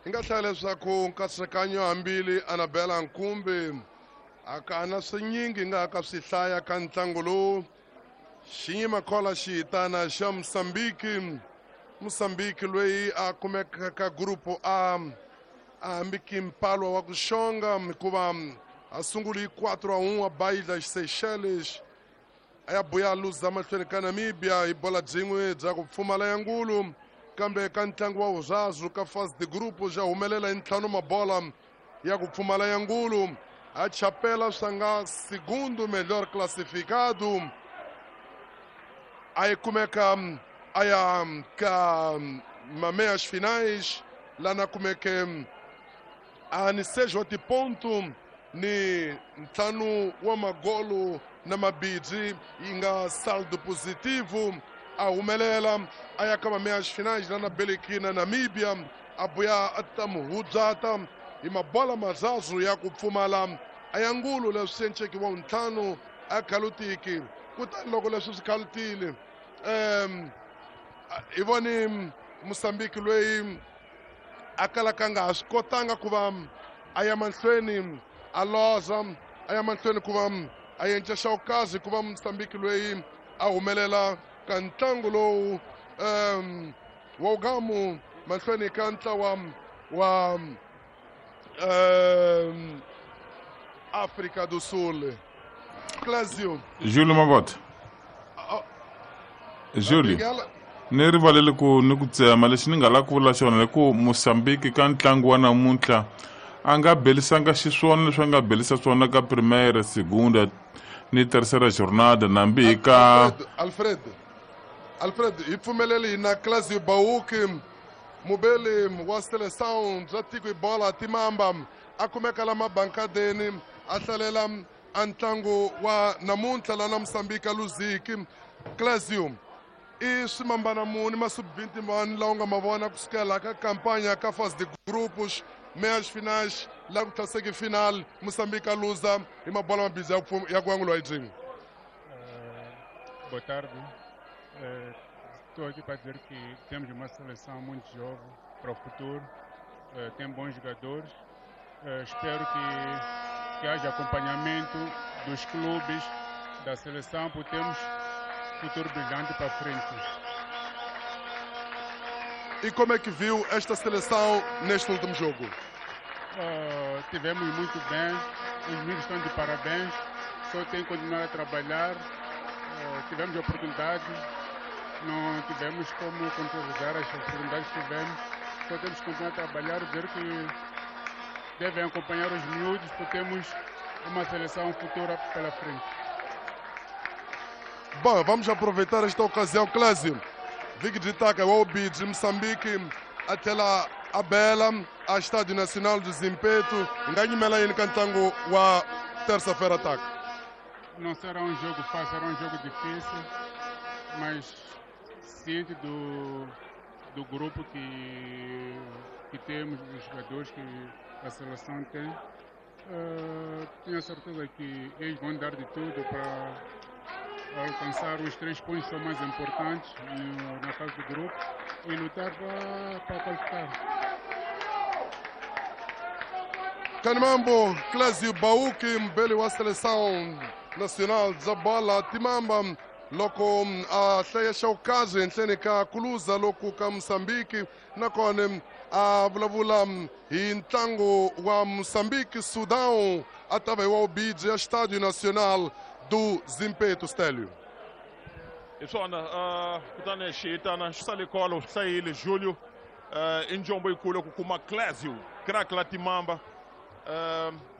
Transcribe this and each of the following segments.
Hi nga hlaya leswaku nkatsakanyo hambili Anabela Nkumbi a ka na swinyingi nga ka swi hlaya ka ntlangu lowu xiyima khola xihitana xa Mosambiki. Mosambiki loyi a kumeka ka grupo A a hambiki mpalwa wa ku xonga hikuva a sunguli hi 4-1 a bayidla Seychelles a ya buya luza mahlweni ka Namibia hi bola byin'we bya ku pfumala ya ngulu kambe ka ntlangu wa vurazu ka fase de grupo ja humelela hi ntlhanu mabola ya ku pfumala ya ngulu a chapela swa nga segundo melhor classificado a yi kumeka a ya ka mameias finais lana kumeke a ni seis wa tiponto ni ntlhanu wa magolo na mabidzi yi nga saldo positivo a humelela a ya ka mameias finais lana beleki na Namibia a buya a ta muhudzata hi mabola mazazu ya ku pfumala a ya ngulu leswi enceki wa ntlhanu a khalutiki kutani loko leswi swi khalutile hi voni Mosambiki loyi a kalaka a nga ha swi kotanga ku va a ya mahlweni a loza a ya mahlweni ku va a yenca xawukazi ku va Mosambiki loyi a humelela ka ntlangu lowu wa ugamu mahlweni ka ntlawa wa África do Sul. Clésio. Júlio Mabota. Júlio. Ni rivalele ku ni ku tsema lexi ni nga lava ku vula xona hi ku Mosambiki ka ntlangu wa namuntlha a nga belisanga xiswona leswi a nga belisa swona ka primeira, segunda ni terceira jornada nambi hi ka Alfred, Alfred, hi pfumeleli na Clésio Bauki mubeli wa seleção bya tiko hi bola timamba a kumeka la mabankadeni a hlalela a ntlangu wa namuntlha lana Mosambiki a luziki. Clésio, i swimambana muni masubvinti mani lawa u nga ma vona kusukela ka kampanya ka fase de grupos meias finais la ku tlhaseki final Mosambiki a luza hi mabola mabidzi ya ku angulwa hi byin'we? Boa tarde. Estou aqui para dizer que temos uma seleção muito jovem para o futuro, tem bons jogadores. Espero que haja acompanhamento dos clubes, da seleção, porque temos futuro brilhante para frente. E como é que viu esta seleção neste último jogo? Tivemos muito bem, os meninos estão de parabéns, só tem que continuar a trabalhar. Tivemos oportunidade, não tivemos como concretizar as oportunidades que tivemos, só temos que continuar a trabalhar, ver que devem acompanhar os miúdos, porque temos uma seleção futura pela frente. Bom, vamos aproveitar esta ocasião, Clésio. Viki Ditaka wa Ubidzi Moçambique a tlhela a bela a Estádio Nacional do Zimpeto nga nyimela yini ka ntlangu wa terça-feira taka? Não será um jogo fácil, será um jogo difícil, mas ciente do grupo que temos, dos jogadores que a seleção tem, tenho a certeza que eles vão dar de tudo para alcançar os 3 pontos que são mais importantes na fase do grupo e lutar para qualificar. Kanimambo, Clésio Bauki, mbeli wa seleção nacional bya bola timamba loko a hlaya xawukazi henhleni ka kuluza loku ka Mosambiki nakona a vulavula hi ntlangu wa Mosambiki Sudão a ta va hi wa Ubidzi ya Estádio Nacional do Zimpeto. Stélio. Hi swona kutani xihitana xi sale kolo swi hlayile Julio i njombo yikulu ku kuma Clésio crack la timamba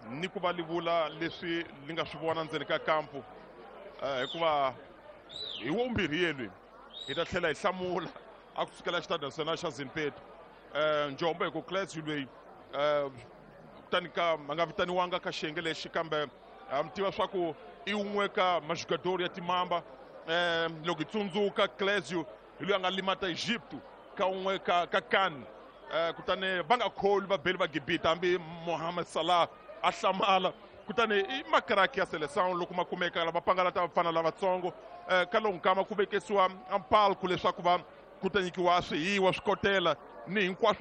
ni ku va li vula leswi li nga swi vona ndzeni ka kampu hikuva hi wo mbirhi yelwi hi ta tlhela hi hlamula a ku sukela Xitadi Nacional xa Zimpeto njombo hi ku Clésio loyi kutani ka a nga vitaniwanga ka xiyenge lexi kambe mi tiva swa ku i wun'we ka majugador ya timamba loko hi tsundzuka Clésio hi loyi a nga limata Egipto ka wun'we ka CAN kutani va nga kholi vabeli va Gibita hambi Mohamed Salah a hlamala kutani i makraki ya seleção loko ma kumeka lava pangalata vafana lavatsongo ka lowu nkama ku vekesiwa mpalku leswaku va ku ta nyikiwa swihiwa swikotela ni hinkwaswo.